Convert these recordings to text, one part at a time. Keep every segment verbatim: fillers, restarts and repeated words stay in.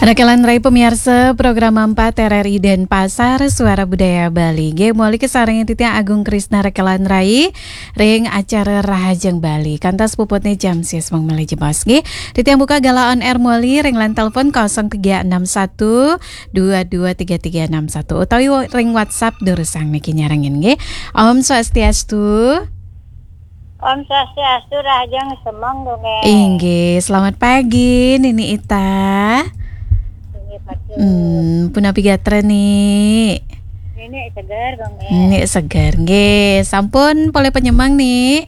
Rekelan Rai pemirsa, program empat R R I Denpasar, Suara Budaya Bali. Nggih, muli kasarengin titiang Agung Krisna Rekelan Rai ring acara Rahajeng Bali. Kantos puputne jam sis mung malih jebos nggih. Titiang buka galah on air muli ring line telepon kosong tiga enam satu dua dua tiga tiga enam satu utawi ring WhatsApp durusang niki nyarengin nggih. Om Swastiastu. Om Swastiastu, rahajeng semeng, Gung, eh. Inggih, selamat pagi, Nini Ita. Inggih, patut. Hmm, punapi gatra, Ni? Nini seger, Gung, eh. Ni seger, nggih. Sampun polih panyemeng, Ni?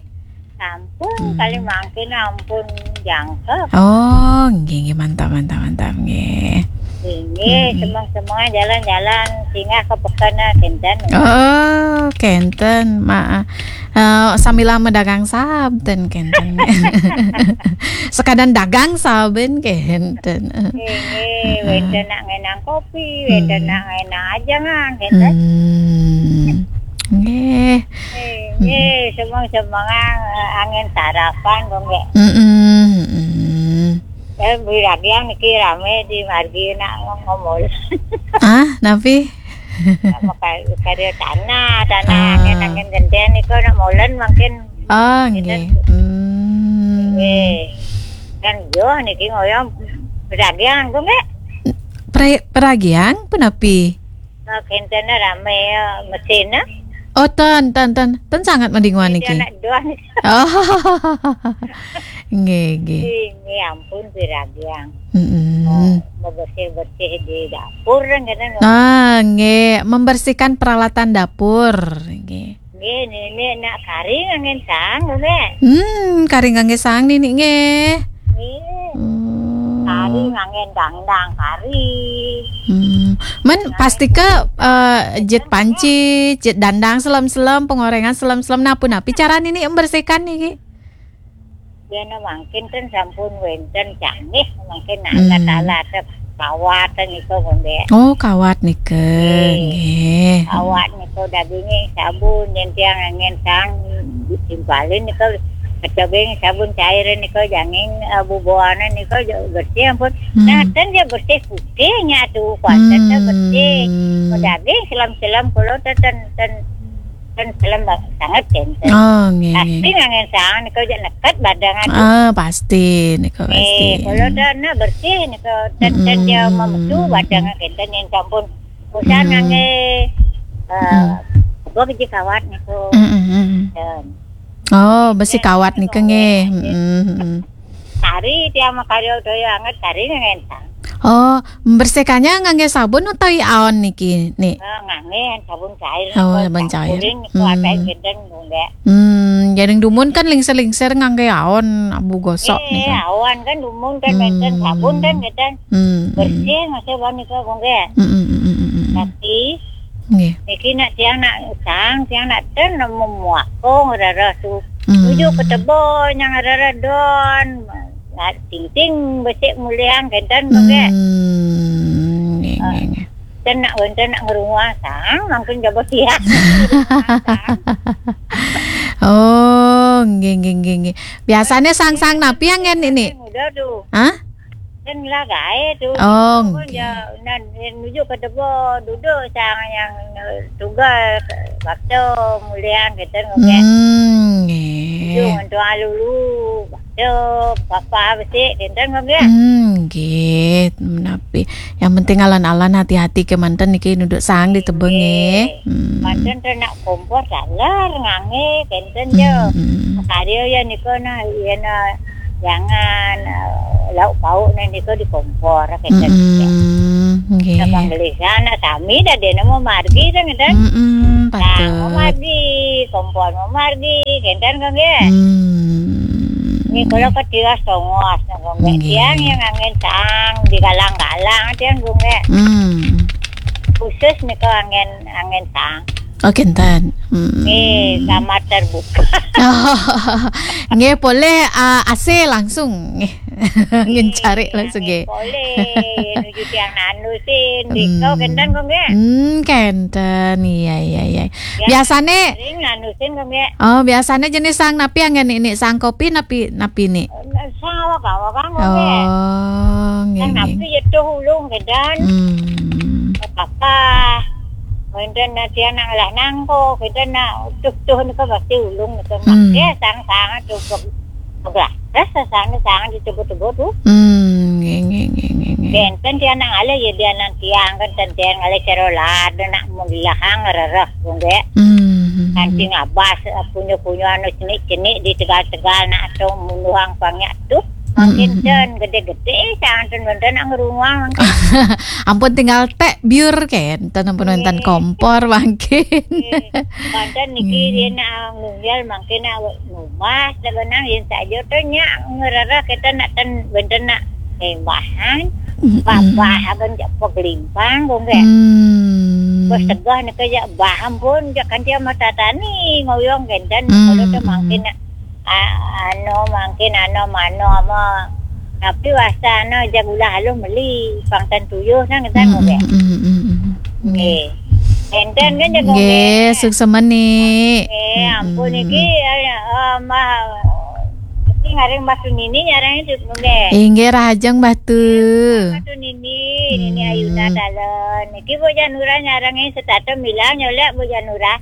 Sampun, hmm. Kali mangkin ampun jangkep. Oh, nggih, nggih, mantap, mantap, mantap, nggih. Inggih, hmm. Semeng-semeng jalan-jalan, singgah ke peken, ah, kinten. Oh, kinten, Ma. Eh, sambil madagang saben kenten. Sekadang dagang saben kenten. Nggih, wenten nak ngenang kopi, wenten nak ngenang ajangan, kenten. Hmm. Nggih. Nggih, semeng-semengan, eh, angin sarapan, kok nggih. Mm-mm, mm-mm. Eh, Bu Ragiang niki rame di margi nak ngomol. Ah, napi? Maka-, karya tanah, tanah, ah, angin, angin genten niku nak molen mangkin. Oh, nggih. Hmm. Nggih. Kan yo niki ngoyong peragian, nggih. Pra-, peragian punapi? Nah, kenten rame ya, mesin, ah. Oh, ten, ten, ten. Ten sangat madinguan niki. Anak dua niki. Oh. Nggih, nggih. Nggih, ampun, piragiang. Mm-mm. Oh, bebersih-bersih di dapur, kan, kadang. Ah, nggih, membersihkan peralatan dapur, nggih. Nggih, nini nak kari nganggen sang, nggih. Hmm, kari nganggen sang nini, nggih. Nggih. Hmm. Kari nganggen dangdang, kari. Hmm. Men pasti ke, eh, jet panci, jet dandang selem-selem, pengorengan selem-selem, napi-napi cara nini membersihkan niki? Yen mangkin ten sampun wenten canggih, mangkin alat-alat kawat niku, nggih. Oh, kawat nika, nggih. Kawat niku dagingnya sabun, yen tiang angin sang ditimpalin niku, kecobeng sabun cair niku, janging, eh, bubuhanan niku, bersih ampun. Hmm. Nah, ten dia bersih putihnya tuh, kuat ten bersih. Hmm. Daging selam-selam kulo ten, ten, ten Kan film ba-, sanget kenten. Oh, nggih, nggih. Pasti nganggen sang niku aja neket badang aja. Ah, pasti niku, pasti. Eh, kalau dah nak bersih niku, dan, dan dia memetu badang kenten yang sampun usaha ngangge, eh, apa biji kawat niku. Mm, mm, mm. Dan. Oh, besi kawat niku nggih. Mm, mm, mm. Tari tiang makarya daya anget tari nganggen sang. Oh, membersihkannya ngangge sabun utawi aon niki, Ni? Eh, ngangge sabun cair. Oh, sabun cair. Kuring niku. Hmm. Ada genten, Bu, nggih. Hmm, jaring dumun kan lingser-lingser ngangge aon, abu gosok. Eh, niku. Aon kan dumun kan, hmm, menten sabun kan, genten. Hmm, hmm. Bersih masih bani ke, Bu, nggih. Hmm, hmm, hmm, hmm, hmm, hmm. Tapi nggih. Niki nak tiang nak sang, tiang nak ten nemu muakong rara su. Hmm. Nuju ke tebo nyang rara don. Nak ting-ting besik mulian kenten, Bu, nggih. Hmm, nggih, nggih, nggih. Ten nak wenten nak ngerunguang sang, mangkin jaba tiang. Oh, nggih, nggih, nggih, nggih. Biasanya sang-sang napi yang ngen ini? Muda tu. Hah? Kan lah gae tu. Oh, nggih. Ya, nan, nuju ke tebo duduk sang yang, eh, tugas bakso mulian kenten, nggih. Hmm, nggih. Nuju ngentu alulu bakso papa besik kenten, nggih. Hmm, nggih, menapi. Yang penting alan-alan hati-hati ke manten niki nuju sang di tebeng, nggih. Nggih. Hmm. Manten tu nak kompor taler ngangge kenten je. Hmm, hmm. Karya ya niku nah, iya nah, jangan, eh, lauk pauk nah niku di kompor kenten. Mm-mm, nggih. Nah, panggelisan nah sami dah dia nemu margi dah ngeten. Mm-mm, patut. Nah, mau margi, kompor mau margi, kenten kan, nggih? Hmm. Ni kalau ketiwas tongos nah, nggih. Nggih. Tiang yang angin sang di galang-galang tiang, nggih. Hmm. Khusus niku angin, angin sang. Oh, kenten. Hmm. Nggih, kamar terbuka. Nggih, polih, ah, A C langsung. Nggih. Ngencari langsung, nggih. Polih, nuju tiang nanusin, di kau kenten kok, nggih? Hmm, kenten. Iya, iya, iya. Ya, biasane sering nanusin kok, nggih. Oh, biasane jenis sang napi yang ini, sang kopi napi, napi ni? Sang awak-awak, nggih. Oh, nggih, nggih. Sang napi ya tuh ulung, Kénten. Hmm. Apa? Kénten nak tiang nak ngelah nangko, kénten nak tuh-tuh nika pasti ulung nika. Hmm. Mangké sang-sang tuh begelah. Rasa sang-sang ditebut-tebut tuh. Hmm, nggih, nggih, nggih, nggih, nggih. Kénten tiang nak ngalih ya, tiang nak tiang kan ten tiang ngalih cara lada nak melahang rereh, nggih. Hmm. Nanti ngabas, eh, punya-punya anu cenik-cenik di tegal-tegal nak atau munuhang pangnya tuh. Makin ten gedé-gedé, santen wénten nak ngerunguang mangkin. Ampun tinggal téh biur kénten, ampun wénten kompor mangkin. Nggih. Wénten niki yén nak ngunggil mangkin nak ngubas, sebenang yén saja téh nya ngerereh kita nak ten wénten nak tembahan. Babah akan jak pegelimpang, kok nggih. Hmm. Bos tegah nika jak bah ampun, jak kan dia mata tani ngoyong kénten, kalau téh mangkin nak Ah, anu mangkin anu mano ama. Tapi wasta anu jak ulah aluh meli pangtan tuyuh nang kita nggih. Nggih. Enten kan jago nggih, suksema ni. Nggih, ampun niki, ah, mah iki ngaring Mbah Tunini nyarang itu nggih. Inggih, rahajeng Mbah Tu. Mbah Tunini, Nini Ayuna Dalem. Niki Bu Janura nyarang setata milah nyolek Bu Janura.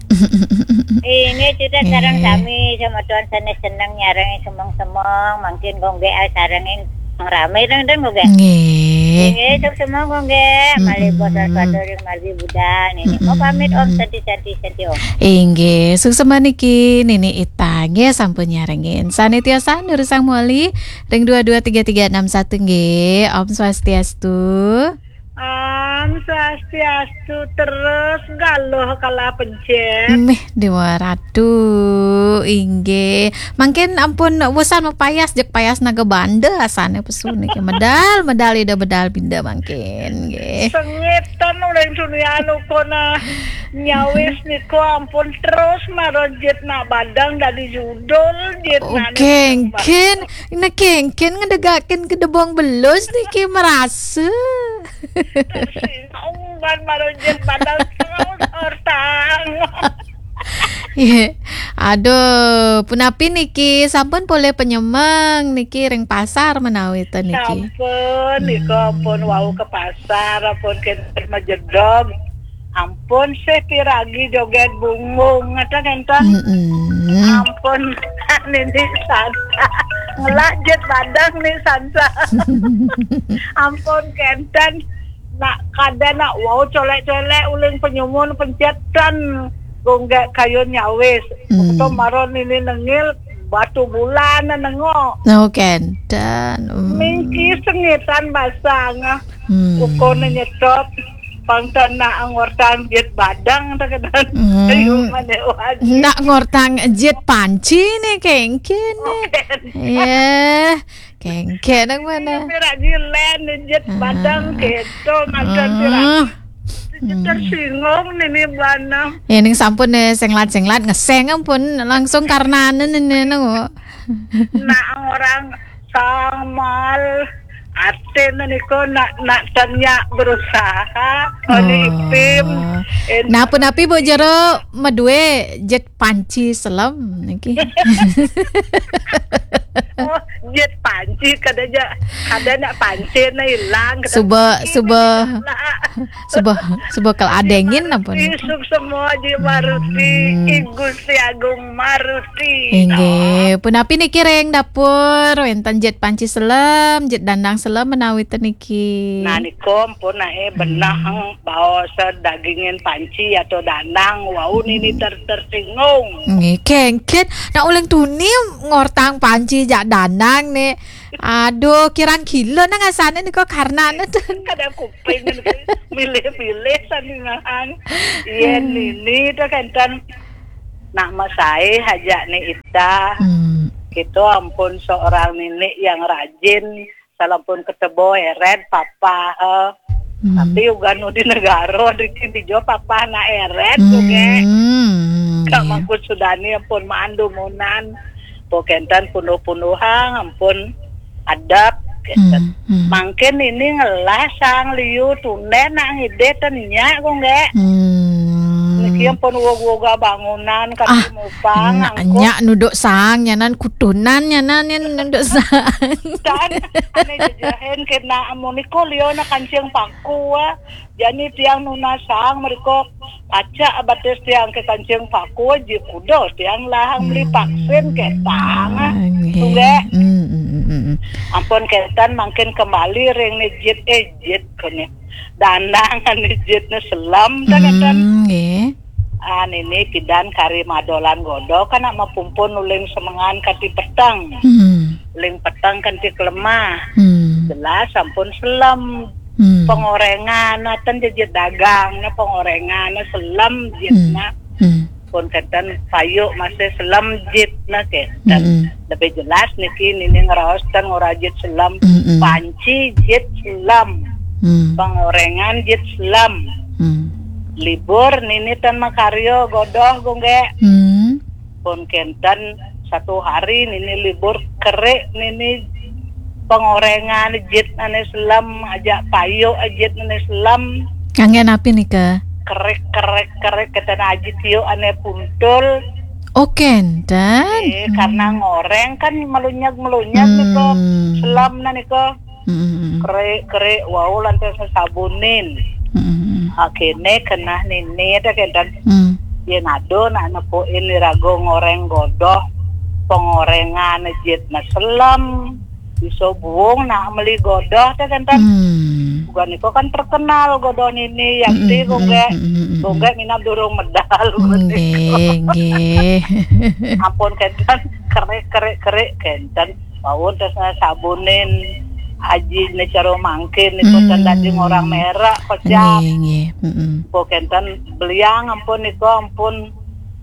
Ini kita sareng sami sama tuan sana seneng nyarang semeng-semeng, mangkin gonggé sareng yang ramai dong dong gonggé. Nggih. Nggih, sok semeng gonggé. Malih bos pada ring margi budal. Nini mau pamit Om, santi-santi santi Om. Inggih, suksema niki Nini Ita nggih sampun nyarengin. Sane tiasa nurusang moli ring dua dua tiga tiga enam satu nggih. Om Swastiastu. Om Swastiastu terus galuh kalah pencen. Mih Dewa Ratu, inggih. Mangkin ampun wusan mapayas, jeg payas naga banda asane pesu niki. Medal, medal ida bedal binda mangkin nggih. Sengitan uling tunian ukona nyawis niko ampun terus maro jit nak badang dadi judul jit. Oke, engkin. Nah, kengken ngedegakin gedebong belus niki merasa. Tersingung ban maro jit badang terus ortang. Iya. Aduh, punapi niki sampun polih penyemeng niki ring pasar menawi ten niki. Sampun, nika pun wau ke pasar, pun kenten majedog. Ampun sih piragi joget bungung, ngeten enten. Mm-mm. Ampun nini sansa. Ngelah jit badang ni sansa. Ampun kenten. Nak kada nak wau colek-colek uling penyumun pencetan. Gonggé kayun nyawis. Hmm. Uto maron ini nengil batu bulan nengo. No kenten. Hmm. Mingki sengitan basang. Hmm. Ukone nyetop. Pangtan nak ngortang jit badang tekedan. Hmm. Ayo mana wajib. Nak ngortang jit panci nih kengkin nih. Oh, kenten. Iya. Kengke nang mana? Ini pirak jilen, jit badang keto, macam pirak. Jit tersinggung nini bana. Ya, ning sampun nih, senglat-senglat, ngeseng ampun, langsung karena nini nang. Nak orang samal, ate niko nak, nak tanya berusaha, oli ipim. Nah, punapi Bu Jero madue jit panci selem niki. Oh, jit panci kada ja, kada nak panci na ilang. Suba, suba, suba, suba kal adengin apa ni? Isuk semua ji Maruti, I Gusti Agung Maruti. Inggih, punapi niki ring dapur, wenten jit panci selem, jit dandang selem menawi ten niki. Nah, niku ampun nae benah baos dagingin panci atau danang, wau nini ter-, tersinggung. Nggih, kengken. Nak uling tuni ngortang panci jak danang nih. Aduh, kirang gila nang asane nika karena nih. Kada kuping milih-milih sandingan. Iya, nini tuh kenten nak masai haja nih Ita. Hmm. Gitu ampun seorang nini yang rajin. Salampun ketebo eret papa, eh. Hmm. Tapi ugan di negara di jo papa na eret juga. Hmm, kak iya. Mangku sudani ampun mandu munan. Pokenten punuh-punuhang ampun adab. Hmm, hmm. Mangkin ini ngelah sang liu tunde nak ngide tenya kok nggak. Hmm. Niki ampun uga-uga bangunan kan. Ah, mupang nya, angkuh. Nya nuduk saang nyanan kutunan nyanan nya nuduk saang. Tan, ane jejehin kena amun iko liu na kancing paku, ah. Jani tiang nunas saang meriko pacak batis tiang ke kancing paku, ji kudo tiang lahang beli vaksin ke tang, ah. Nggih. Tunggak. Hmm, hmm, hmm, hmm, hmm. Ampun kenten mangkin kembali ring ni jit, eh, jit kene. Dandang ane jit ne selam, ta kenten. Hmm, nggih. Ah, nini pidan kari madolan godoh kan nak mapumpun uling semengan kanti peteng. Hmm. Uling peteng kanti kelemah. Hmm. Jelas ampun selam. Hmm. Pengorengan, nah, ten jejit dagang, nah, pengorengan, nah, selam jit, hmm, nah. Hmm. Pun kenten payuk masih selam jit, nah, kenten. Hmm. Lebih jelas niki nini ngeraos ten ngora jit selam. Hmm, hmm. Panci jit selam. Hmm. Pengorengan jit selam. Hmm. Libur nini ten makaryo godoh, Gung Gek. Hmm. Pun kenten satu hari nini libur kerik nini pengorengan jit ane selam, ajak payuk jit ane selam. Ngangge napi nika? Kerik, kerik, kerik, kenten aji tiuk ane puntul. Oh, kenten. Eh, karena ngoreng kan melunyag-melunyag nika, hmm, selam na nika. Hmm. Kerik, kerik, wau lantas sabunin. Hmm. Akhirnya kenah nini ta kenten. Hmm. Yen ado nak nepukin irago ngoreng godoh, pengorengan jit na selam. Iso buung nak meli godoh ta kenten. Hmm. Bukan iko kan terkenal godoh nini, yakti, hmm, Gung Gek. Hmm, hmm, hmm, hmm. Gung Gek minab durung medal. Nggih, nggih. Ampun kenten, kerik, kerik, kerik, kenten. Paun terus sabunin aji ne caro mangkin niko, hmm, tanda di ngorang merek kocap. Nggih, nggih. Mm-mm. Po kenten beliang ampun niko, ampun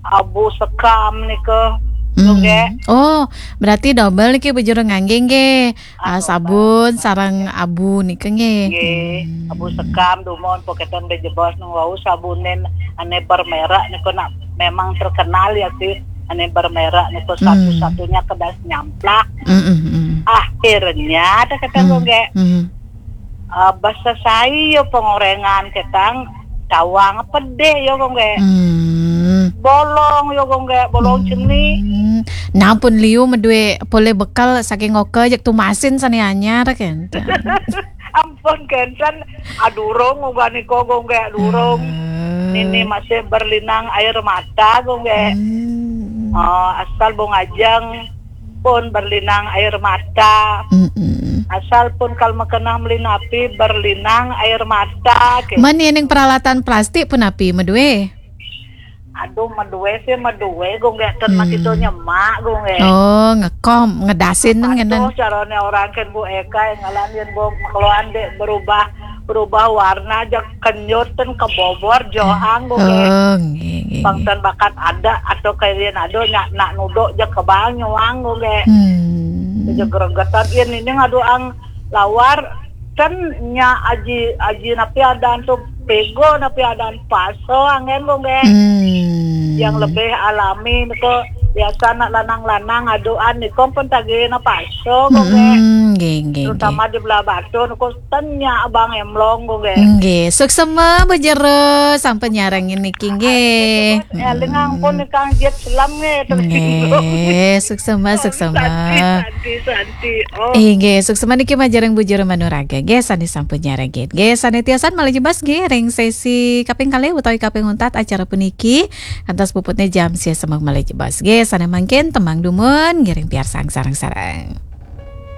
abu sekam niko. Hmm. Nggih. Oh, berarti double niki Bu Jero ngangge nggih. Ah, ah, double. Sabun sareng abu niki nggih. Nggih, hmm, abu sekam dumun po kenten bejebos nang wau sabunin ane bermerek niko nak memang terkenal ya sih. Ane bermerek niko, hmm, satu-satunya kedas nyamplak. Hmm, hmm, hmm. Akhirnya ta kenten, hmm, Gung Gek. Hmm. Ah, basa sai yo pengorengan ketang tawang pedih yo, Gung Gek. Hmm. Bolong yo, Gung Gek, bolong, hmm, ceni. Nah pun liu medue polih bekal saking oka jek tumasin sane anyar kenten. Ampun kenten, adurung uga niko, Gung Gek, durung. Ah. Nini masih berlinang air mata, Gung Gek. Hmm. Ah, asal bung ajeng pun berlinang air mata. Mm-mm. Asal pun kal makenang meli napi berlinang air mata. Ke. Men yening peralatan plastik pun api medue? Aduh, medue sih, medue, Gung Gek, ten, hmm, makito nyemak, Gung Gek. Oh, ngekom, ngedasin. Aduh, ngenen. Carane orang ken Bu Eka yang ngalan yen Bu keluan dek berubah, berubah warna aja kenyut ten kebobor johang, Gung Gek. Oh, nggih, nggih, pang nggih. Ten bakat ada atau kalian ada nyak nak nuduk je kebang nyuang, Gung Gek. Hmm. Je gregetan yen ini ngadu ang lawar. Kan nya aji, aji napi adan tu pego, napi adan paso anggen, Gung Gek. Hmm. Yang lebih alami niko biasa nak lanang-lanang aduan niko pun tagih na paso, Gung Gek. Hmm, nggih, nggih, terutama nggih. Di belah Batu niko ten nya abang emlong, Gung Gek. Nggih, suksema Bu Jero sampun nyarengin niki nggih. Eh, lengang pun, hmm, nikang jet selam nggih, tersinggung. Nggih, suksema, suksema. Santi, santi, santi. Oh. Inggih, suksema niki majeng ring Bu Jero Manuraga nggih, sane sampun nyarengin. Nggih, sane tiosan malih jebos nggih ring sesi kaping kalih utawi kaping untat acara puniki. Kantos puputne jam sia semeng malih jebos. Nggih, sane mangkin tembang dumun ngiring piarsang sareng-sareng.